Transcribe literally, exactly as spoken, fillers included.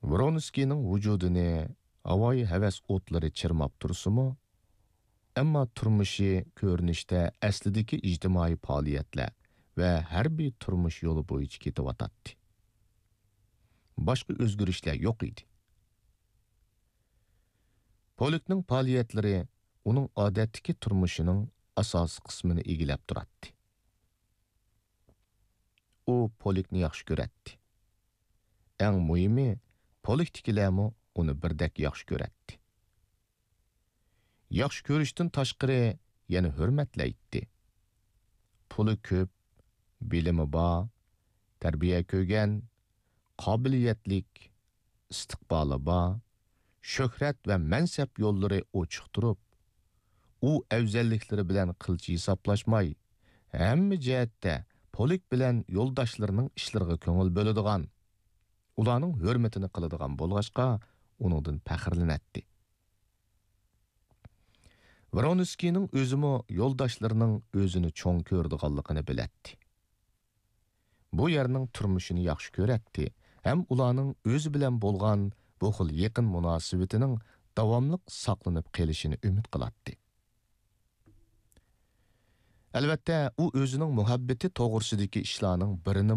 ۋرونسكىينىڭ ۋۇجۇدىنى ھاۋايى ھەۋەس ئوتلىرى چىرماپ تۇرسىمۇ، ئەمما تۇرمۇشى كۆرۈنۈشتە ئەسلىدىكى ئىجتىمائىي پائالىيەتلەر ۋە ھەربىي تۇرمۇش يولى بويىچە كېتىۋاتاتتى. باشقا ئۆزگىرىشلەر يوق ئىدى. پولكنىڭ پائالىيەتلىرى ئۇنىڭ ئادەتتىكى تۇرمۇشىنىڭ ئاساسىي قىسمىنى ئىگىلەپ تۇراتتى. ئۇ پولكنى ياخشى كۆرەتتى. ئەڭ مۇھىمى، پولكتىكىلەرمۇ ئۇنى بىردەك ياخشى كۆرەتتى. ياخشى كۆرۈشتىن تاشقىرى يەنە ھۆرمەتلەيتتى. پۇلى كۆپ، بىلىمى بار، تەربىيە كۆرگەن، قابىلىيەتلىك، ئىستىقبالى بار، شۆھرەت ۋە مەنسەپ يوللىرى ئوچۇق تۇرۇپ، ئۇ ئەۋزەللىكلىرى بىلەن قىلچە ھېسابلاشماي، ھەممە جەھەتتە پولك بىلەن يولداشلىرىنىڭ ئىشلىرىغا كۆڭۈل بۆلىدىغان، ئۇلارنىڭ ھۆرمىتىنى قىلىدىغان بولغاچقا، ئۇنىڭدىن پەخىرلىنەتتى. ۋرونسكىينىڭ ئۆزىمۇ يولداشلىرىنىڭ ئۆزىنى چوڭ كۆرىدىغانلىقىنى بىلەتتى. بۇ يەرنىڭ تۇرمۇشىنى ياخشى كۆرەتتى ھەم ئۇلارنىڭ ئۆزى بىلەن بولغان بۇ خىل يېقىن مۇناسىۋىتىنىڭ داۋاملىق ساقلىنىپ قېلىشىنى ئۈمىد قىلاتتى. ئەلۋەتتە، ئۇ ئۆزىنىڭ مۇھەببىتى توغرىسىدىكى ئىشلارنىڭ بىرىنى